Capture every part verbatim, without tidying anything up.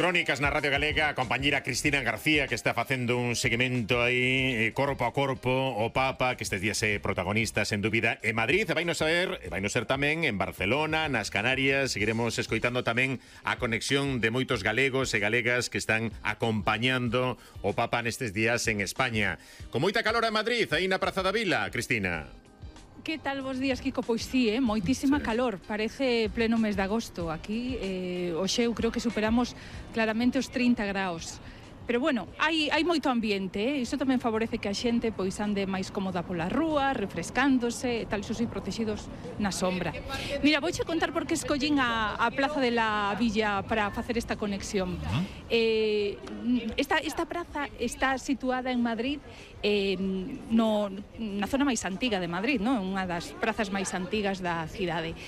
Crónicas na Radio Galega, a compañera Cristina García, que está facendo un seguimento aí, corpo a corpo, o Papa, que estes días é protagonista, sen dúbida, en Madrid, e vai nos ser, e vai nos ser tamén en Barcelona, nas Canarias. Seguiremos escoitando tamén a conexión de moitos galegos e galegas que están acompañando o Papa nestes días en España. Con moita calor en Madrid, aí na Praza da Vila, Cristina. Que tal vos días, Kiko? Pois sí, eh? moitísima sí. calor, parece pleno mes de agosto. Aquí, eh, hoxe eu creo que superamos claramente os trinta graus. Pero bueno, hai, hai moito ambiente, eh? Iso tamén favorece que a xente pois ande máis cómoda pola rúa, refrescándose, tal, iso sí, protegidos na sombra. Mira, vouche contar por que escollín a, a Plaza de la Villa para facer esta conexión. Uh-huh. eh, esta, esta praza está situada en Madrid, eh, no, na zona máis antiga de Madrid, non? Unha das prazas máis antigas da cidade.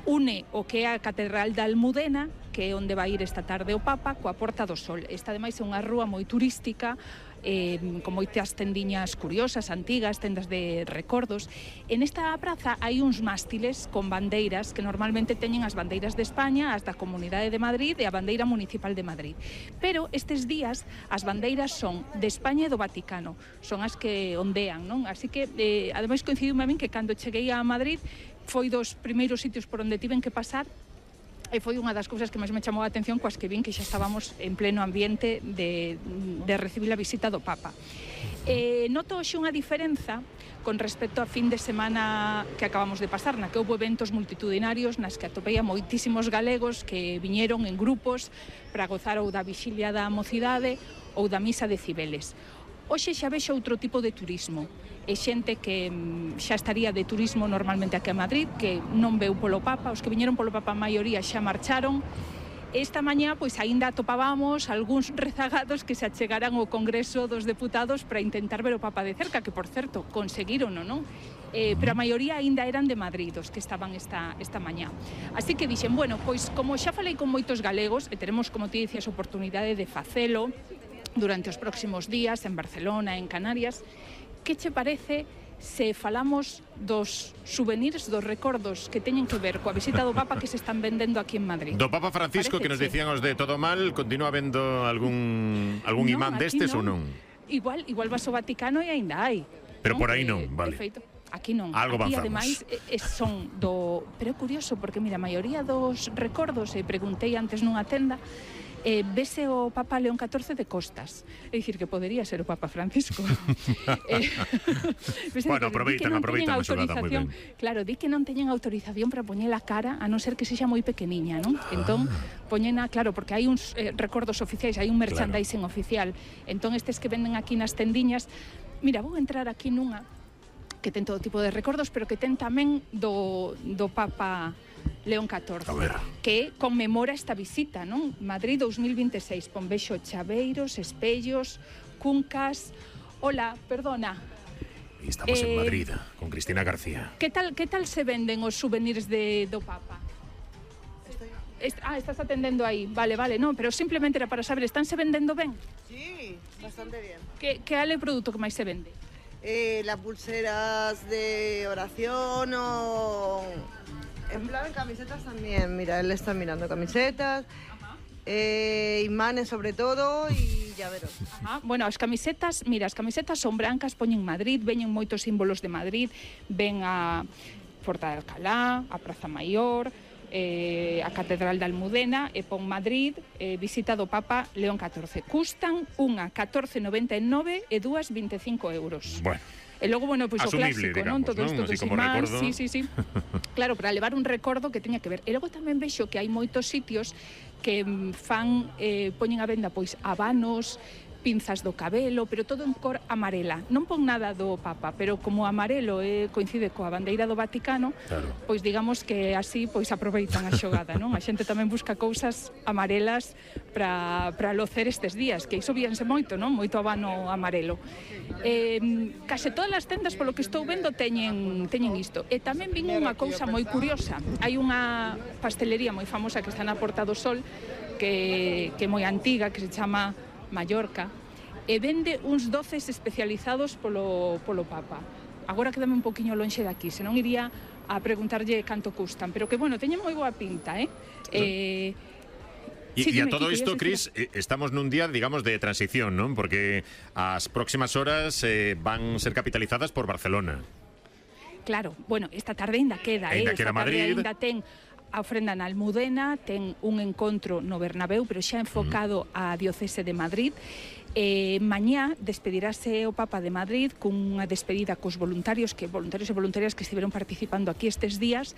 Une o que é a Catedral da Almudena, que é onde vai ir esta tarde o Papa, coa Porta do Sol. Esta, ademais, é unha rúa moi turística, eh, con moitas tendiñas curiosas, antigas, tendas de recordos. En esta praza hai uns mástiles con bandeiras que normalmente teñen as bandeiras de España, as da Comunidade de Madrid e a bandeira municipal de Madrid. Pero estes días as bandeiras son de España e do Vaticano, son as que ondean, non? Así que, eh, ademais, coincidiu a min que cando cheguei a Madrid foi dos primeiros sitios por onde tiven que pasar e foi unha das cousas que máis me chamou a atención coas que vin que xa estábamos en pleno ambiente de, de recibir a visita do Papa. Eh, noto hoxe unha diferenza con respecto a fin de semana que acabamos de pasar, na que houve eventos multitudinarios nas que atopei a moitísimos galegos que viñeron en grupos para gozar ou da vixilia da mocidade ou da misa de Cibeles. Hoxe xa vexo outro tipo de turismo. É xente que xa estaría de turismo normalmente aquí a Madrid, que non veu polo Papa, os que viñeron polo Papa a maioría xa marcharon. Esta mañá, pois, aínda atopábamos algúns rezagados que se achegaran ao Congreso dos Deputados para intentar ver o Papa de cerca, que, por certo, conseguirono, non? Eh, pero a maioría aínda eran de Madrid, os que estaban esta, esta mañá. Así que dixen, bueno, pois, como xa falei con moitos galegos, e teremos, como ti dicías, oportunidade de facelo durante os próximos días en Barcelona, en Canarias, que che parece se falamos dos souvenirs, dos recordos que teñen que ver coa visita do Papa que se están vendendo aquí en Madrid? Do Papa Francisco, que nos dicían os de Todo Mal, continúa vendo algún algún no, imán destes non. ou non? Igual, igual vas ao Vaticano e aínda hai. Pero non? por aí non, eh, vale. Perfeito. Aquí non. Algo aquí, avanzamos. ademais, eh, son do... Pero é curioso, porque, mira, a maioría dos recordos, e preguntei antes nunha tenda, Eh, vese o Papa León catorce de costas. É dicir, que podería ser o Papa Francisco. eh, bueno, aproveitan, aproveitan a xogada moi ben. Claro, di que non teñen autorización para poñer a cara, a non ser que sexa moi pequeniña, non? Ah. Entón, poñena, claro, porque hai uns eh, recordos oficiais, hai un merchandising claro. oficial. Entón, estes que venden aquí nas tendiñas, mira, vou entrar aquí nunha que ten todo tipo de recordos, pero que ten tamén do, do Papa León catorce, que conmemora esta visita, non? Madrid dos mil vinte e seis, pon vexo chaveiros, espellos, cuncas. Hola, perdona. E estamos eh, en Madrid, con Cristina García. Que tal, que tal se venden os souvenirs de, do Papa? Estoy... Est ah, estás atendendo aí. Vale, vale, non, pero simplemente era para saber, ¿están se vendendo ben? Sí, bastante bien. Que, que é o produto que máis se vende? Eh, las pulseras de oración o... En plan, camisetas también, mira, él está mirando camisetas, eh, imanes sobre todo y llaveros. Ajá. Bueno, as camisetas, mira, as camisetas son brancas, poñen Madrid, veñen moitos símbolos de Madrid, ven a Porta de Alcalá, a Praza Maior, eh, a Catedral da Almudena e pon Madrid, eh, visita do Papa León catorce. Custan unha catorce noventa e nove e dúas vinte e cinco euros. Bueno. E logo, bueno, pois pues, o clásico, digamos, non? Todo isto ¿no? dos imáns, sí, sí, sí. Claro, para levar un recordo que teña que ver. E logo tamén vexo que hai moitos sitios que fan, eh, poñen a venda, pois, habanos, pinzas do cabelo, pero todo en cor amarela. Non pon nada do Papa, pero como o amarelo eh, coincide coa bandeira do Vaticano, claro. Pois digamos que así pois aproveitan a xogada, non? A xente tamén busca cousas amarelas para para locer estes días, que iso víanse moito, non? Moito habano amarelo. Eh, case todas as tendas, polo que estou vendo, teñen teñen isto. E tamén vin unha cousa moi curiosa. Hai unha pastelería moi famosa que está na Porta do Sol, que que é moi antiga, que se chama Mallorca, e vende uns doces especializados polo, polo Papa. Agora quedame un poquinho lonxe daqui, senón iría a preguntarlle canto custan, pero que, bueno, teñen moi boa pinta, eh? eh E Sí, a dime, todo Kiko, isto, ibas a Cris, eh, estamos nun día, digamos, de transición, non? Porque as próximas horas eh, van ser capitalizadas por Barcelona. Claro, bueno, esta tarde ainda queda, Ainda eh? queda esta tarde Madrid. ainda ten a ofrenda na Almudena, ten un encontro no Bernabéu, pero xa enfocado á diocese de Madrid. Eh, mañá despedirase o Papa de Madrid cunha despedida cos voluntarios, que voluntarios e voluntarias que estiveron participando aquí estes días.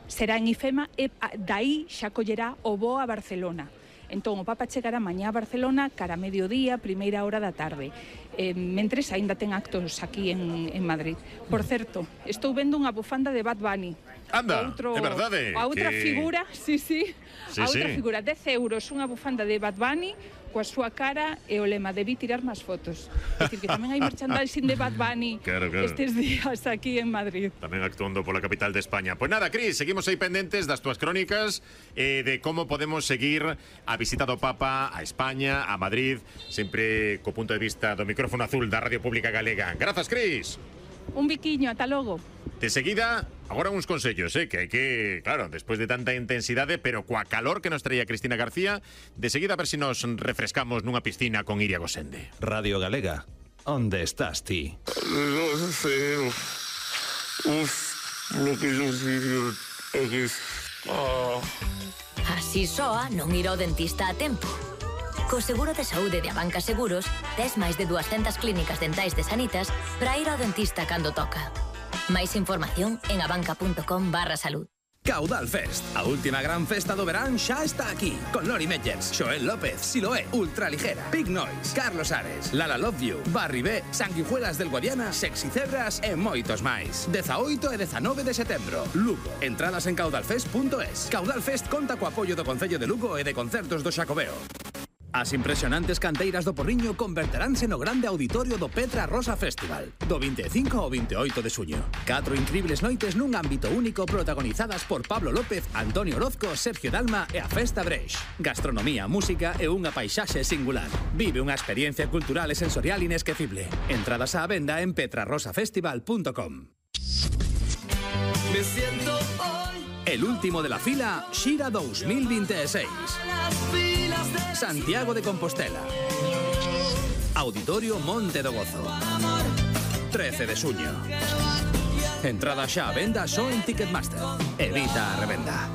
Será en IFEMA e dai xa collerá o voo a Barcelona. Entón, o Papa chegará mañá a Barcelona cara a mediodía, primeira hora da tarde. Eh, mentres aínda ten actos aquí en, en Madrid. Por certo, estou vendo unha bufanda de Bad Bunny. Anda, outro, é verdade. A outra que... figura, sí, sí, sí a outra sí. figura, dez euros, unha bufanda de Bad Bunny, coa súa cara e o lema, debí tirar máis fotos. É dicir, que tamén hai merchandising de Bad Bunny claro, claro. estes días aquí en Madrid. Tamén actuando pola capital de España. Pois nada, Cris, seguimos aí pendentes das túas crónicas eh, de como podemos seguir a visita do Papa a España, a Madrid, sempre co punto de vista do micrófono azul da Radio Pública Galega. Grazas, Cris. Un biquiño, ata logo. De seguida, agora uns consellos, eh, que hai que, claro, despois de tanta intensidade, pero coa calor que nos traía Cristina García, de seguida a ver se si nos refrescamos nunha piscina con Iria Gosende. Radio Galega, onde estás ti? Non sei. Uf, lo que yo digo é que... Oh. Así soa non ir ao dentista a tempo. Co seguro de saúde de Abanca Seguros, tes máis de dúascentas clínicas dentais de Sanitas para ir ao dentista cando toca. Máis información en abanca.com barra salud. Caudal Fest, a última gran festa do verán xa está aquí, con Lori Meyers, Xoel López, Siloé, Ultraligera, Big Noise, Carlos Ares, Lala Love You, Barry B, Sanguijuelas del Guadiana, Sexy Cebras e moitos máis. dezaoito e dezanove de setembro, Lugo. Entradas en caudalfest punto es. Caudal Fest conta co apoio do Concello de Lugo e de Concertos do Xacobeo. As impresionantes canteiras do Porriño converteránse no grande auditorio do Petra Rosa Festival, do vinte e cinco ao vinte e oito de suño. Catro incribles noites nun ámbito único protagonizadas por Pablo López, Antonio Orozco, Sergio Dalma e a Festa Breix. Gastronomía, música e unha paisaxe singular. Vive unha experiencia cultural e sensorial inesquecible. Entradas á venda en petra rosa festival punto com. Me siento hoy el último de la fila Xira dos mil veintiséis. Santiago de Compostela. Auditorio Monte do Gozo. trece de suño. Entrada xa a venda só en Ticketmaster. Evita a revenda.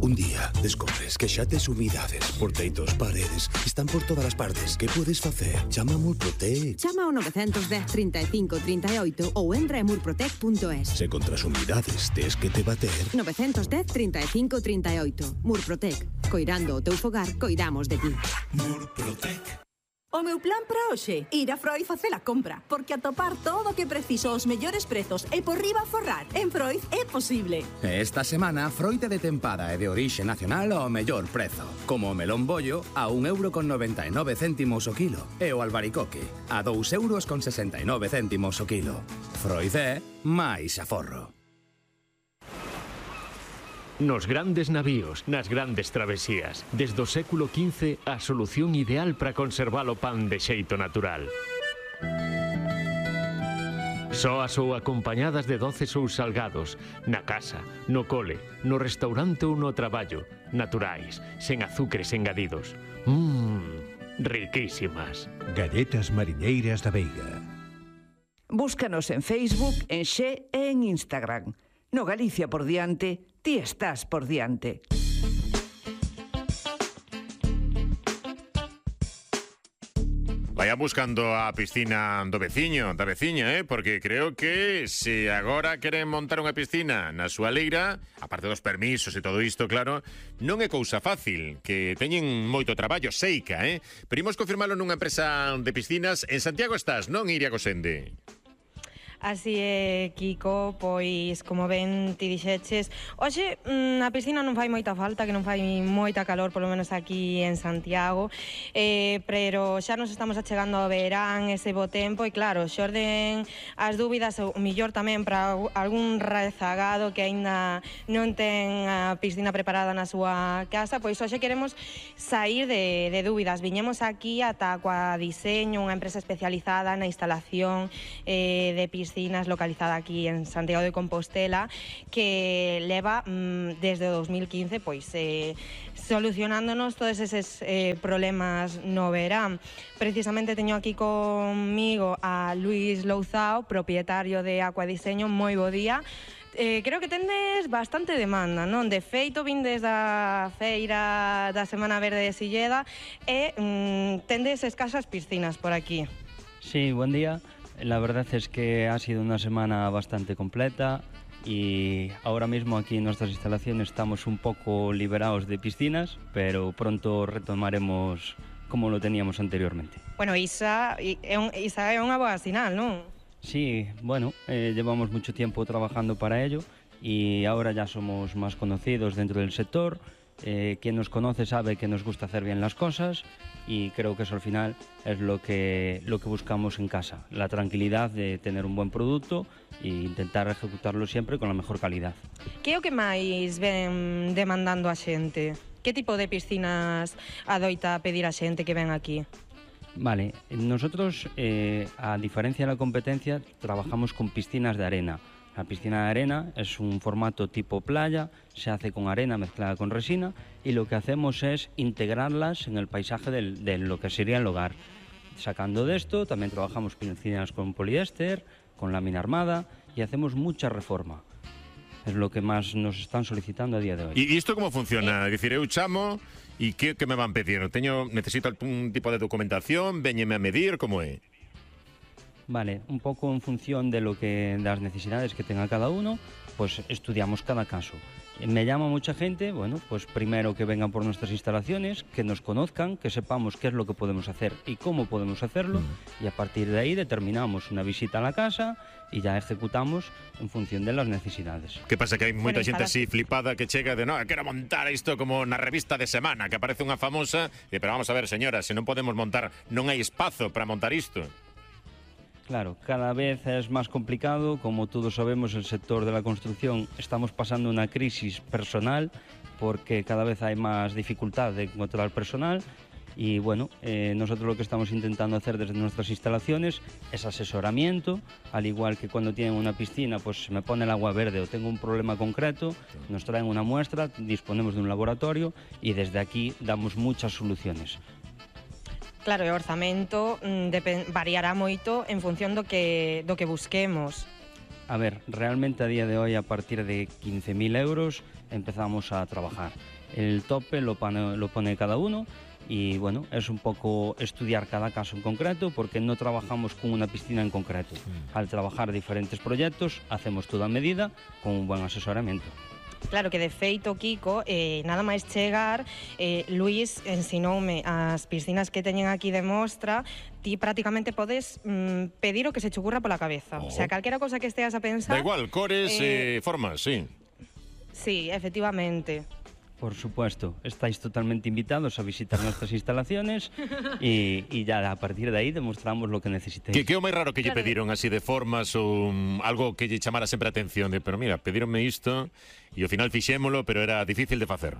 Un día descubres que xa tes humidades por teitos, paredes, están por todas as partes. Que podes facer? Chama a Murprotec. Chama ao nove un cero, trinta e cinco, trinta e oito ou entra en murprotec punto es. Se contra as humidades tes que te bater. nove un cero, trinta e cinco, trinta e oito. Murprotec. Coirando o teu fogar, coidamos de ti. Murprotec. O meu plan para hoxe, ir a Freud facer a compra, porque atopar todo o que preciso aos mellores prezos e por riba forrar en Freud é posible. Esta semana, froita de tempada e de orixe nacional ao mellor prezo, como o melón bollo a un euro con noventa e nove céntimos o kilo e o albaricoque a dous euros con sesenta e nove céntimos o kilo. Freud é máis aforro. Nos grandes navíos, nas grandes travesías, desde o século quince, a solución ideal para conservar o pan de xeito natural. Soas ou acompañadas de doces ou salgados, na casa, no cole, no restaurante ou no traballo, naturais, sen azúcares engadidos. Mmm, riquísimas. Galletas mariñeiras da Veiga. Búscanos en Facebook, en Xe e en Instagram. No Galicia por diante, ti estás por diante. Vaia buscando a piscina do veciño, da veciña, eh? Porque creo que se agora queren montar unha piscina na súa leira, aparte dos permisos e todo isto, claro, non é cousa fácil, que teñen moito traballo, seica, eh? Pero imos confirmalo nunha empresa de piscinas. En Santiago estás, non, Iria Gosende? Así é, Kiko, pois, como ben ti dixeches, hoxe a piscina non fai moita falta, que non fai moita calor, polo menos aquí en Santiago, eh, pero xa nos estamos achegando ao verán, ese bo tempo, e claro, xorden as dúbidas, o millor tamén para algún rezagado que aínda non ten a piscina preparada na súa casa, pois hoxe queremos sair de, de dúbidas. Viñemos aquí ata coa Diseño, unha empresa especializada na instalación eh, de piscinas Piscinas, localizada aquí en Santiago de Compostela, que leva mm, desde o dos mil quince pois eh, solucionándonos todos eses eh, problemas no verán. Precisamente teño aquí conmigo a Luis Louzao, propietario de Aquadiseño. Moi bo día. Eh, creo que tendes bastante demanda, non? De feito, vindes da feira da Semana Verde de Silleda e mm, tendes escasas piscinas por aquí. Sí, buen día. La verdad es que ha sido una semana bastante completa y ahora mismo aquí en nuestras instalaciones estamos un poco liberados de piscinas, pero pronto retomaremos como lo teníamos anteriormente. Bueno, Isa é, un, Isa é unha boa sinal, non? Sí, bueno, eh, llevamos mucho tiempo trabajando para ello y ahora ya somos más conocidos dentro del sector. Eh, quien nos conoce sabe que nos gusta hacer bien las cosas y creo que eso al final es lo que, lo que buscamos en casa, la tranquilidad de tener un buen producto e intentar ejecutarlo siempre con la mejor calidad. Que é o que máis ven demandando a xente? Que tipo de piscinas adoita pedir a xente que ven aquí? Vale, nosotros, eh, a diferencia de la competencia, trabajamos con piscinas de arena. La piscina de arena es un formato tipo playa, se hace con arena mezclada con resina y lo que hacemos es integrarlas en el paisaje del, de lo que sería el hogar. Sacando de esto, también trabajamos piscinas con poliéster, con lámina armada y hacemos mucha reforma. Es lo que más nos están solicitando a día de hoy. ¿Y esto cómo funciona? Es decir, eu chamo e que, que me van pedir? Teño, necesito algún tipo de documentación, véñeme a medir, como é? Vale, un pouco en función de lo que das necesidades que tenga cada uno, pues estudiamos cada caso. Me llama mucha gente, bueno, pues primero que vengan por nuestras instalaciones, que nos conozcan, que sepamos qué es lo que podemos hacer y cómo podemos hacerlo, mm. y a partir de ahí determinamos una visita a la casa y ya ejecutamos en función de las necesidades. Que pasa que hai moita xente así flipada que chega de, no, quero montar isto como na revista de semana, que aparece unha famosa, e, pero vamos a ver, señora, se non podemos montar, non hai espazo para montar isto. Claro, cada vez es más complicado, como todos sabemos, el sector de la construcción estamos pasando una crisis personal porque cada vez hay más dificultad de encontrar personal y bueno, eh, nosotros lo que estamos intentando hacer desde nuestras instalaciones es asesoramiento, al igual que cuando tienen una piscina, pues se me pone el agua verde o tengo un problema concreto, nos traen una muestra, disponemos de un laboratorio y desde aquí damos muchas soluciones. Claro, o orzamento mm, variará moito en función do que, do que busquemos. A ver, realmente a día de hoy a partir de quince mil euros empezamos a trabajar. El tope lo pone, lo pone cada uno y bueno, es un poco estudiar cada caso en concreto porque no trabajamos con una piscina en concreto. Mm. Al trabajar diferentes proyectos hacemos todo a medida con un buen asesoramiento. Claro que de feito, Kiko, eh, nada máis chegar, eh, Luis ensinoume as piscinas que teñen aquí de mostra, ti prácticamente podes mm, pedir o que se che ocurra pola cabeza. Oh. O sea, calquera cosa que esteas a pensar... Da igual, cores e eh, formas, sí. Sí, efectivamente. Por supuesto, estáis totalmente invitados a visitar nuestras instalaciones y, y ya a partir de ahí demostramos lo que necesitéis. Que, que é o máis raro que lle pediron así de formas ou um, algo que lle chamara sempre a atención de, pero mira, pedironme isto e ao final fixémolo, pero era difícil de facer.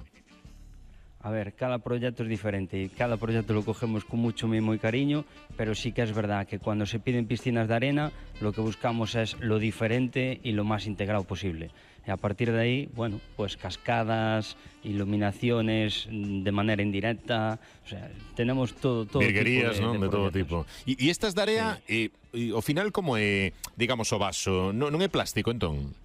A ver, cada proyecto es diferente y cada proyecto lo cogemos con mucho mimo y cariño, pero sí que es verdad que cuando se piden piscinas de arena, lo que buscamos es lo diferente y lo más integrado posible. Y a partir de ahí, bueno, pues cascadas, iluminaciones de manera indirecta, o sea, tenemos todo, todo Virguerías, tipo de, ¿no? de, de todo tipo. E, e estas de area, sí. e, e, ao final, como é, digamos, o vaso? Non, non é plástico, entón?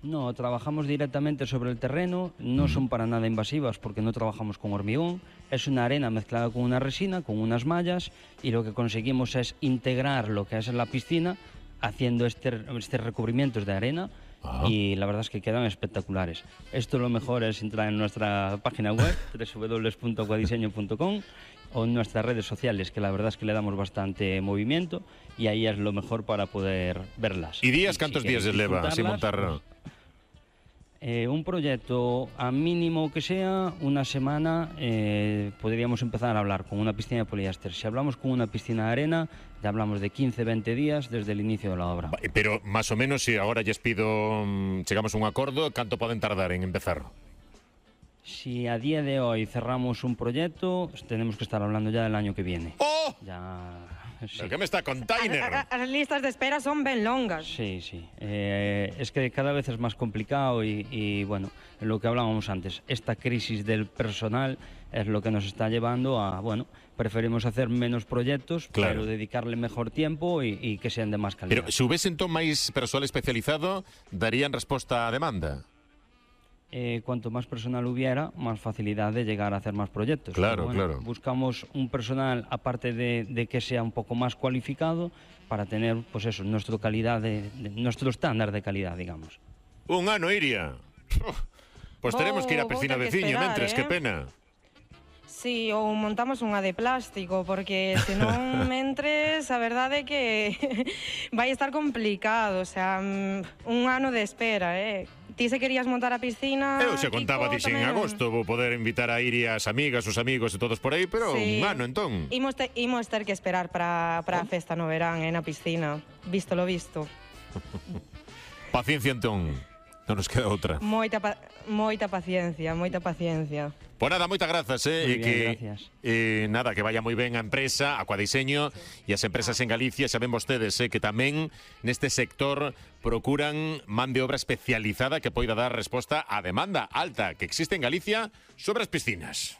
No, trabajamos directamente sobre el terreno, no son para nada invasivas porque no trabajamos con hormigón, es una arena mezclada con una resina, con unas mallas y lo que conseguimos es integrar lo que es en la piscina haciendo este, este recubrimientos de arena. Ah. Y la verdad es que quedan espectaculares. Esto lo mejor es entrar en nuestra página web doble u doble u doble u punto aquadiseño punto com o en nuestras redes sociales, que la verdad es que le damos bastante movimiento y ahí es lo mejor para poder verlas. ¿Y días? ¿Cuántos si días les leva sin montar? Pues, eh, un proyecto a mínimo que sea una semana, eh, podríamos empezar a hablar con una piscina de poliéster. Si hablamos con una piscina de arena, ya hablamos de quince, veinte días desde el inicio de la obra. Pero más o menos, si ahora lles pido, chegamos a un acordo, ¿canto poden tardar en empezar? Si a día de hoy cerramos un proyecto, tenemos que estar hablando ya del año que viene. ¡Oh! Ya Sí. Que me está container? As, as listas de espera son ben longas. Sí, sí. Eh, es que cada vez es más complicado y, y, bueno, lo que hablábamos antes, esta crisis del personal es lo que nos está llevando a, bueno, preferimos hacer menos proyectos, claro, pero dedicarle mejor tiempo y, y que sean de más calidad. Pero se houvese entón máis persoal especializado, darían resposta á demanda? Eh, cuanto más personal hubiera, más facilidad de llegar a hacer más proyectos. Claro, bueno, claro. Buscamos un personal, aparte de, de que sea un poco más cualificado, para tener, pues eso, nuestro calidad de, de nuestro estándar de calidad, digamos. Un ano, Iria. Pois teremos que ir á piscina veciña, mentres, eh? que pena. Sí, ou montamos unha de plástico, porque senón mentres, a verdade é que vai estar complicado, o sea, un ano de espera, eh? Ti se querías montar a piscina... Eu xa contaba, Kiko, dixen, en tamén... agosto vou poder invitar a Iria as amigas, os amigos e todos por aí, pero Sí. un ano, entón. Imos, te, imos ter que esperar para a festa no verán, eh, na piscina. Visto lo visto. Paciencia, entón. Non nos queda outra. Moita, pa moita paciencia, moita paciencia. Pois nada, moitas grazas, eh, Muy e bien, que gracias. eh, nada, que vaya moi ben a empresa, Aquadiseño e as empresas en Galicia, saben vostedes eh, que tamén neste sector procuran man de obra especializada que poida dar resposta á demanda alta que existe en Galicia sobre as piscinas.